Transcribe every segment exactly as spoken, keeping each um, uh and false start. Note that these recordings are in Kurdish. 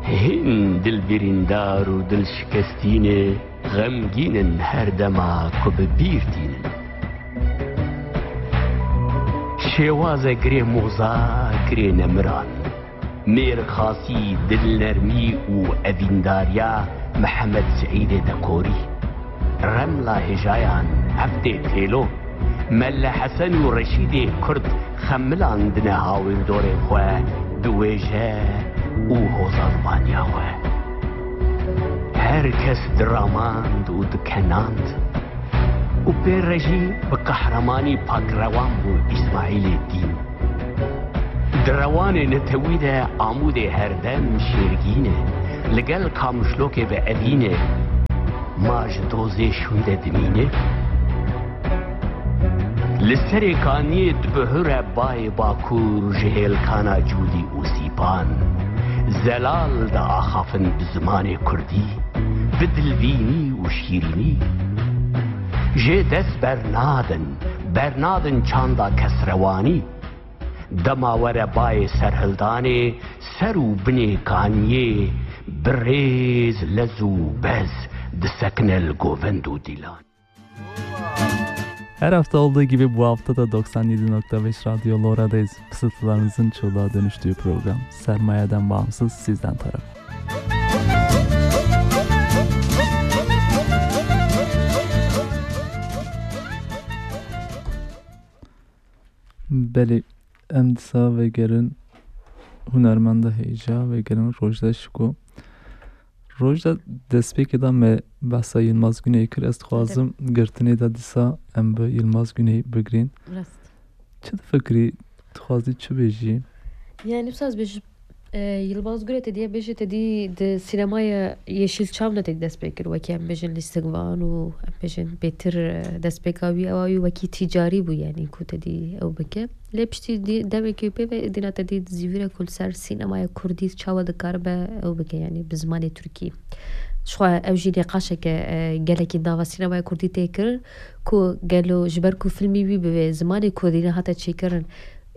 Hîn dilbirîndar û dilşikestî ne, xemgîn in her dema ku bi bîr tînin. Şêwaze girê moza, girê nemiran. Mêrxasî, dilnermî û evîndariya Mihemed Seîdê Dekorî. Remla hêjayan, Evdê Têlo, Melle Hesen û Reşîdê Kurd xemilandine hawîldorê xwe bi wêje û hozanvaniya xwe. Her kes diramand û dikenand û pê re jî bi qehremanî pakrewan bû Îsmaîlê Dîn. Di rewanê netewî de Amûdê herdem şêrgîn e, li gel Kamûşlokê bi evîn e, ma ji dozê şûnde dimîne. Li serê kaniyê dibihure bayê Bakur ji hêlkana Cûdî û Sîpan, zelal diaxafin bi zimanê kurdî, bi dilvînî û şîrînî. Jê dest bernadin, bernadin çanda kesrewanî. Dema were bayê serhildanê, ser û binê kaniyê, bi rêz lez û bez disekine li govend û dîlan. Her hafta olduğu gibi bu hafta da doksan yedi nokta beş Radyo Lora'dayız. Fısıltılarınızın çığlığa dönüştüğü program Sermayeden Bağımsız sizden taraf. Belê, em dîsa vegerin hunermenda hêja, vegerin Rojda Şiko. Rojda, destpêkê de me behsa Yilmaz Güneyê kir. Ez dixwazim girtinê de dîsa em bi Yilmaz Güney bigirîn. Rast. Çi difikirî, dixwazî çi bêjî? Yani, wisa ez bêjim, e, Yilmaz Güney te diye bêje, te dî di sînemaya Yeşilçam de te dî dest pê kir, wekî em bêjin lîstikvan û em bêjin bêtir, e, destpêka wî, ewa wî wekî tîcarî bû, yani, ku te dî ew bike. Lê piştî dî-, demekî pê ve dîna te dî zîvire ku li ser sînemaya kurdî çawa dikaribe ew bike, yani, bi zimanê tirkî. Ji xwe ew jî nîqaşeke, e, gelekî nava sînemaya kurdî tê kirin, ku gelo ji ber ku filmî wî bi vê zimanê kurdî nehate çêkirin,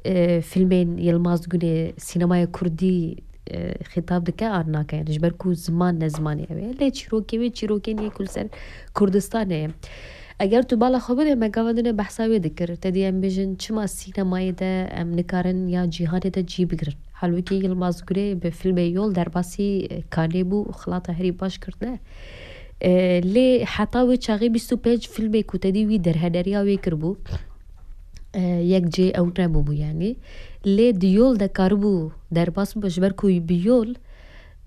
e, filmên Yilmaz Gunê sînemaya kurdî, e, xîtab dike an nake? Yani ji ber ku ziman ne zimanê ew e. Lê çîrokê wê çîrokên yê ku li ser Kurdistanê ye. Eger tu bala xwe bidê, me gava din e behsa wê dikir. Te dî em bêjin çima sînemayê de em nikarin ya cîhanê de cî bigirin. Halbûkî Yilmaz Gunê bi filmê Yol derbasî, e, kanê bû û xilata herî baş kirtine. E, lê heta wê çaxê bîst û pênc filmê ku te dî wî derheneriya wê kiribû, e, yek cê ew nebûbû, yanî. Lê di Yol de karibû derbas bibe, ji ber ku bi Yol,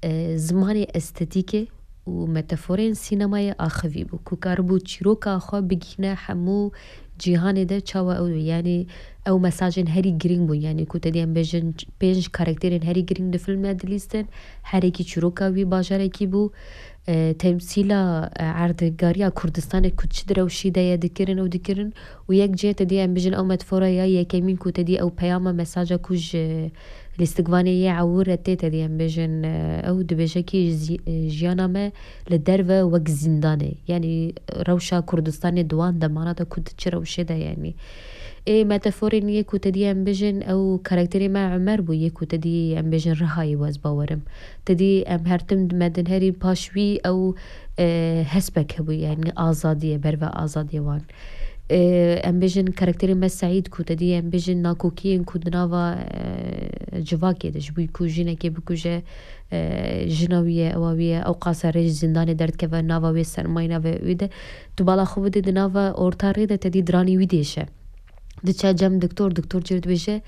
e, zimanê estetîkê û metaforên sînemayê axivî bû, ku karibû çîroka xwe bigihîne hemû cîhanê de çawa ew, yanî ew mesajên herî girîng bûn, yanî ku te dî em bêjin pênc karakterên herî girîng di filmê dilîstin, herekî çîroka wî bajarekî bû, e, temsîla, e, erdnîgariya Kurdistanê ku çi di rewşî de ye dikirin û dikirin û yek cihê te dî em bêjin ew metafora ya yekemîn ku te dî ew peyama mesaja ku ji lîstikvanê yê ewir re tê te dî em bêjin, e, ew dibêje kî jî-, e, jiyana me li derve wek zîndanê. Yanî rewşa Kurdistanê di wan demana de ku di çi rewşê de yanî. Ê metaforên yê ku te dî em bêjin ew karakterê me Umer bû, yê ku te dî em bêjin Rihayê wez bawerim. Te dî em her tim me din herî paş wî ew, e, hespek hebû, yanî azadiyê, berve azadiyê wan. E, em bêjin karakterê me Seîd ku te dî em bêjin nakokiyên ku di nava, e, civakê de ji bo ku jinekê bikuje, e, jina wî ye, ewa wî ye, ew qasa rê ji zindanê derdikeve nava wê sermayê nave wî de. Tu bala xwe bidê di nava orta rê de te dî diranî wî dêşe. Diçe cem doktor, doktor cê dibêje,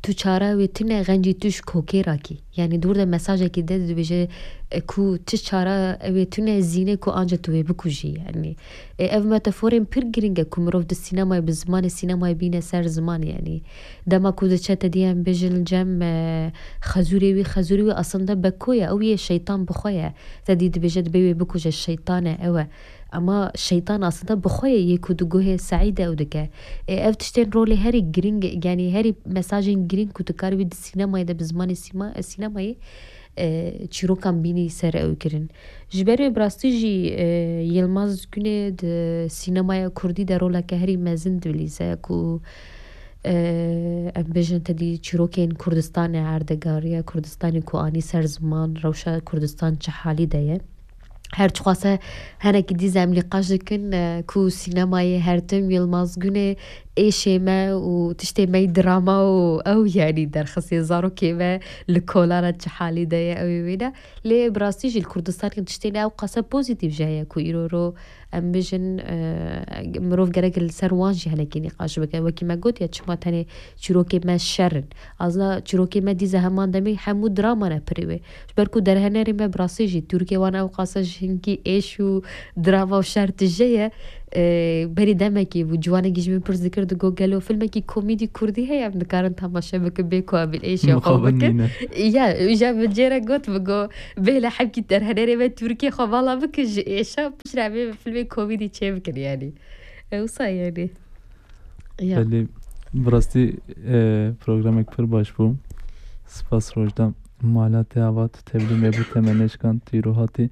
tu çare wê tune xencî tu ji kokê rakî. Yanî dûr de mesajekî de dibêje, e, ku tu çare wê tune zîne ku anca tu wê bikujî. Yanî, e, ev metaforên pir girîng e ku mirov di sînemayê bi zimanê sînemayê bîne ser ziman, yanî. Dema ku diçe te dî em bêjin li cem, e, xezûrê wî, xezûrê wî aslında Beko ye, ew yê şeytan bi xwe ye. Te dî dibêje dibê wê bikuje, şeytan e, ew e. Ama şeytan aslında bi xwe ye, yê ku di guhê Seîd de ew dike. E, ev tiştên rolê herî girîng, yanî herî mesajên girîng ku tu karibî di sînemayê de bi zimanê sîma-, sînemayê, e, çîrokan bînî ser ew kirin. Ji ber wê bi rastî jî, e, Yilmaz Gunê di sînemaya kurdî de roleke herî mezin dilîze ku Em bêjin tedî çîrokên Kurdistanê erdegariya Kurdistanê ku anî ser ziman, rewşa Kurdistan çi halî de ye. Her çiqase henekî dî zem nîqaş dikin, e, ku sînemayê her tim Yilmaz Gunê êşê me û tiştê me yî drama û ew, yanî derxisê zarokê me li kolana çi halî de ye, ew ê wêne. Lê bi rastî jî li Kurdistanê tiştên ew qase pozîtîf jî heye ku îro ro em bêjin, e, mirov gerek li ser wan jî henekî nîqaş bike. Wekî me got ya çima tenê çîrokê me şer in. Azna çîrokê me dîze heman demê hemû drama ne pirî wê. Ji ber ku derhenerê me bi rastî jî Tirkiyê wan ew qase ji hinkî êş û drama û şer tije ye. E, berî demekî bû, ciwanekî ji min pirs dikir, digot, gelo filmekî komîdî kurdî heye em dikarin temaşe bikin bê ku em êşê xwe Mixabin bikin? Nîne. Ya, îja min cêre got, min got, bêle hemkî derhenerê me Tirkiyê xwe vala bikin ji êşa, piştre em ê filmê komîdî çê bikin yanî. E, wisa yanî. Ya. Belê, bi rastî, e, programek pir baş bû. Spas Rojda. Mala te ava, tu tevlî me bû, te me neşkand, tu îro hatî.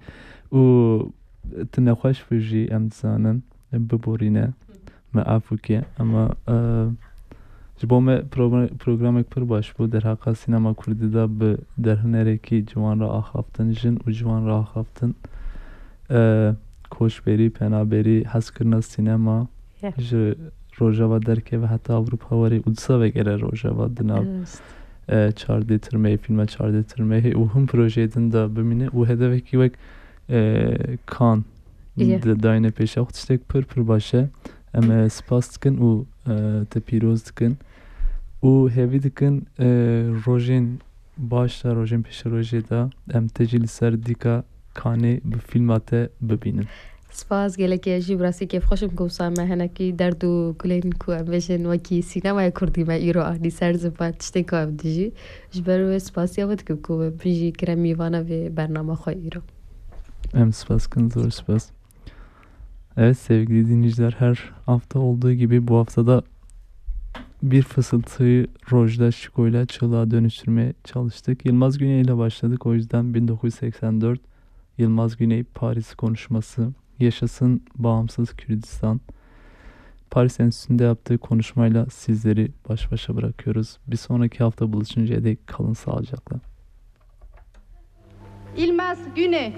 Û tu nexweş bû jî, em dizanin, biborîne. Me afû ke. Ema, e, ji bo me progr-, programek pir baş bû. Derheqa sînema kurdî de bi derhunerekî ciwan re axaftin, jin û ciwan re axaftin. E, koçberî, penaberî, hezkirina sînema, Ya. ji Rojava derkeve heta Ewropa were û disa vegere Rojava di nav, Rast. e, çardê tirmeyê, fîlma çardê tirmeyê û hin projeyê din de bimîne û hedefekî wek, e, Kan Ya. de dayne pêşa xwe tiştek pir pir baş e. Em, e, spas dikin û, e, te pîroz dikin û hevî dikin, e, rojên baş de, rojên pêşerojê de em te jî li ser dîka Kanê bi fîlma te bibînin. Spas gelekî, ez jî bi rastî kêfxweş im ku wisa me henekî derd û kulên ku em bêjin wekî sînemaya kurdî me îro anî ser ziman tiştên ku em dijî. Ji ber wê spasiya we dikim ku min jî kire mîvana vê bernama xwe îro. Em spas kin, zor spas. Evet sevgili dinleyiciler, her hafta olduğu gibi bu haftada bir fısıltıyı Rojda Şiko'yla çığlığa dönüştürmeye çalıştık. Yılmaz Güney ile başladık, o yüzden bin dokuz yüz seksen dört Yılmaz Güney Paris konuşması, Yaşasın Bağımsız Kürdistan. Paris Enstitüsü'nde yaptığı konuşmayla sizleri baş başa bırakıyoruz. Bir sonraki hafta buluşuncaya dek kalın sağlıcakla. Îlmaz Gune,